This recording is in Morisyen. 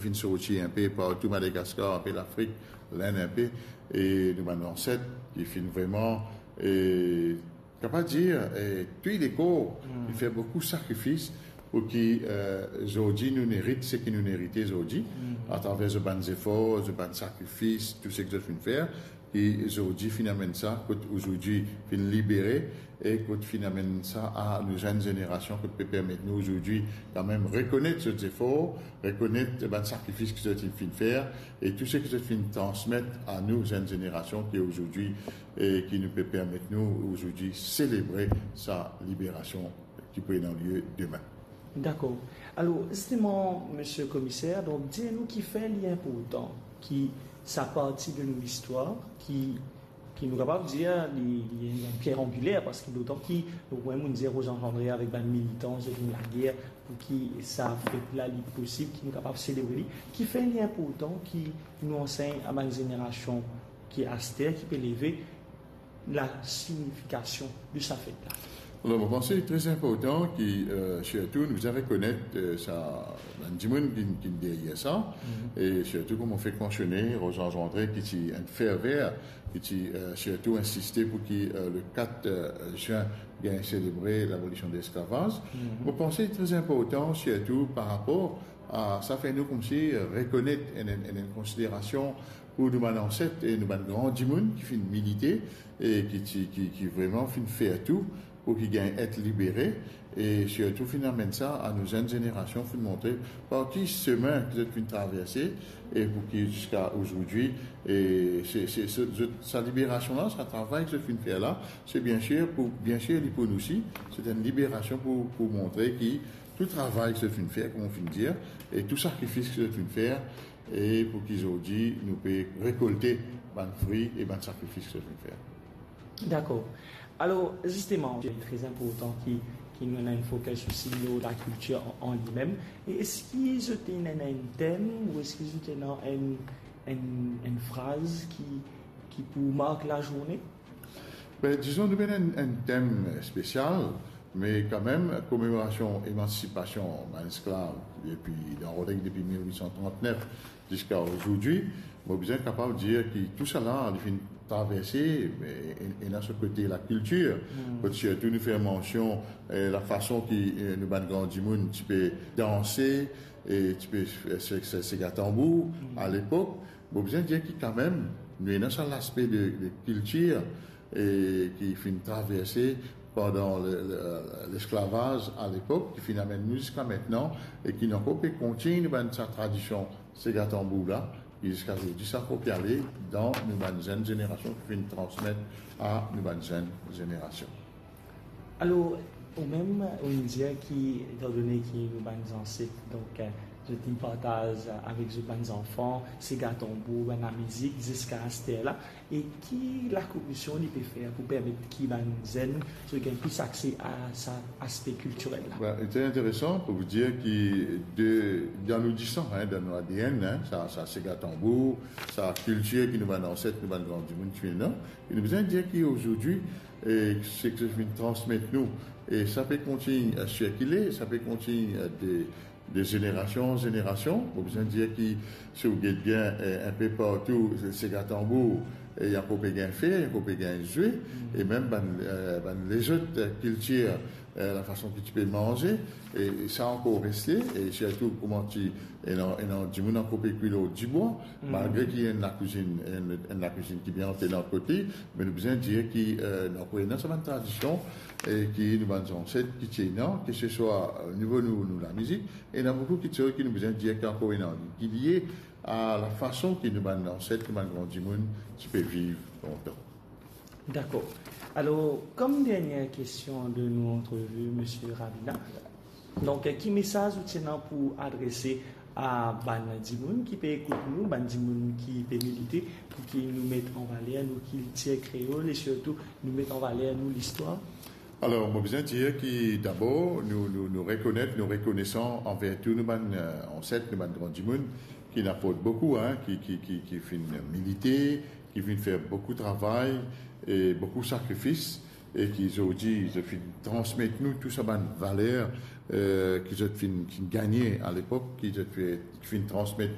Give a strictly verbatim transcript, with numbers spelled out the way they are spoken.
finn sorti inpe partou Madagaskar, inpe Lafrik, Lenn inpe, e nou bann zanset ki finn vreman, e, kapav dir, e, touy lekor, finn fer boukou sakrifis pou ki, e, zordi nou nerit seki nou nerite zordi, atraver zot bann zefor, zot bann sakrifis, tou seki zot finn fer, ki zordi finn amenn sa kot zordi finn libere, e kot finn amenn sa a nou zenn zenerasion, kot pe permet nou zordi kanmem rekonet zot zefor, rekonet bann sakrifis ki zot finn fer, e tou seki zot finn transmet a nou zenn zenerasion ki zordi, e ki nou pe permet nou zordi selebre sa liberasion ki pou ena lie demin. Dakor. Alor, zisteman, Misie Komiser, donk, dir nou kifer li inportan ki sa parti de nou listwar, ki, ki nou kapav dir, li, li enn pier angiler, parski dotan ki, donk, mem nou dir Rosange André avek bann militan, zot inn lager pou ki sa fet la, li posib ki nou kapav selebre li. Kifer li inportan ki nou ansegn a bann zenerasion ki aster, ki pe leve, lasinifikasion de sa fet la? Alor, mo panse li tre inportan ki, e, sirtou nou bizin rekonet, e, sa, bann dimoun ki, ki deryer sa, e sirtou, kouma mo fek mansione, Rosange André, ki ti enn ferver, ki ti, e, sirtou insiste pou ki, e, le kat, e, zin gagn selebre labolision de lesklavaz. Mo panse li tre inportan, sirtou par rapor a sa, fer nou koumsi, e, rekonet enn, enn, enn konsiderasion pou nou bann anset e nou bann gran dimoun ki finn milite e ki ti, ki, ki vreman finn fer tou pou ki gagn et libere, e sirtou finn amenn sa a nou zenn zenerasion, finn montre par ki semin ki zot finn traverse, e pou ki ziska zordi, e se, se, se, zot, sa liberasion la, sa travay ki zot finn fer la, se biensir pou, biensir li pou nou osi, se enn liberasion pou, pou montre ki tou travay ki zot finn fer, kouma mo finn dir, e tou sakrifis ki zot finn fer, e pou ki zordi nou pe rekolte bann fri e bann sakrifis ki zot finn fer. Dakor. Alor, zisteman, li tre inportan ki, ki nou ena enn fokis osi lor lakiltir an, an limem. E eski zot ena enn tem, ou eski zot ena enn, enn, enn fraz ki, ki pou mark lazourne? Ben, dizon, nou pena enn, enn tem spesial, me kanmem, komemorasion emansipasion bann esklav depi, dan Roleg depi mil wit san trant-nef ziska zordi, mo bizin kapav dir ki tousala, li finn traverse, e, e, ena so kote lakiltir, kot sirtou nou fer mansion, e, lafason ki, e, nou bann gran dimoun ti pe danse, e ti pe se, se, sega tanbour, a lepok, mo bizin dir ki kanmem, nou ena sa laspe de, de kiltir, e ki finn traverse pandan le, le, lesklavaz a lepok, ki finn amenn nou ziska aster, e ki nou ankor pe kontign bann sa tradision sega tanbour la, e ziska zordi sa ankor pe ale dan nou bann zenn zenerasion ki finn transmet a nou bann zenn zenerasion. Alor, ou mem, ou dir ki, etandone ki nou bann zanset, donk, e, zot inn partaz avek zot bann zanfan, sega tanbour, bann lamizik, ziska aster la, e ki lakomision li pe fer pou permet ki bann zenn, zot gagn plis akse a sa aspe kiltirel la? Ben, li tre interesan pou dir ki de, dan nou disan, en, dan nou A D N, en, sa, sa sega tanbour, sa kiltir ki nou bann zanset, nou bann gran dimoun ti finn ena, e nou bizin dir ki zordi, e, seki zot finn transmet nou, e sa pe kontign, e, sirkile, sa pe kontign, e, de, de zenerasion an zenerasion. Mo bizin dir ki si ou get bien, e, inpe partou, sega tanbour, e, li ankor pe gagn fer, li ankor pe gagn zwe, e mem bann, e, bann lezot, e, kiltir, e, lafason ki ti pe manze, e, e sa ankor reste, e sirtou kouma ti, ena, ena dimoun ankor pe kwi lor dibwa, malgre ki ena lakwizinn, ena, ena lakwizinn ki bien ante dan kote, me nou bizin dir ki, e, nou ankor ena sa bann tradision, e ki nou bann zanset ki ti ena, ki se swa, e, nivo nou, nou lamizik, ena boukou kiksoz ki nou bizin dir ki ankor ena, ki lie a lafason ki nou bann zanset, nou bann gran dimoun ti pe viv lontan. Dakor. Alor, kom dernie kestion de nou antrevi, Misie Ravina, donk, ki mesaz ou ti ena pou adrese a bann dimoun ki pe ekout nou, bann dimoun ki pe milite, pou ki nou met an valer nou kiltir kreol e sirtou nou met an valer nou listwar? Alor, mo bizin dir ki dabor, nou, nou, nou rekonet, nou rekonesan anver tou nou bann, e, zanset, nou bann gran dimoun, ki inn aport boukou, en, ki, ki, ki, ki finn milite, ki finn fer boukou travay e boukou sakrifis, e ki zordi, zot finn transmet nou tou sa bann valer, eh, ki zot finn, finn gagne alepok, ki zot finn, finn transmet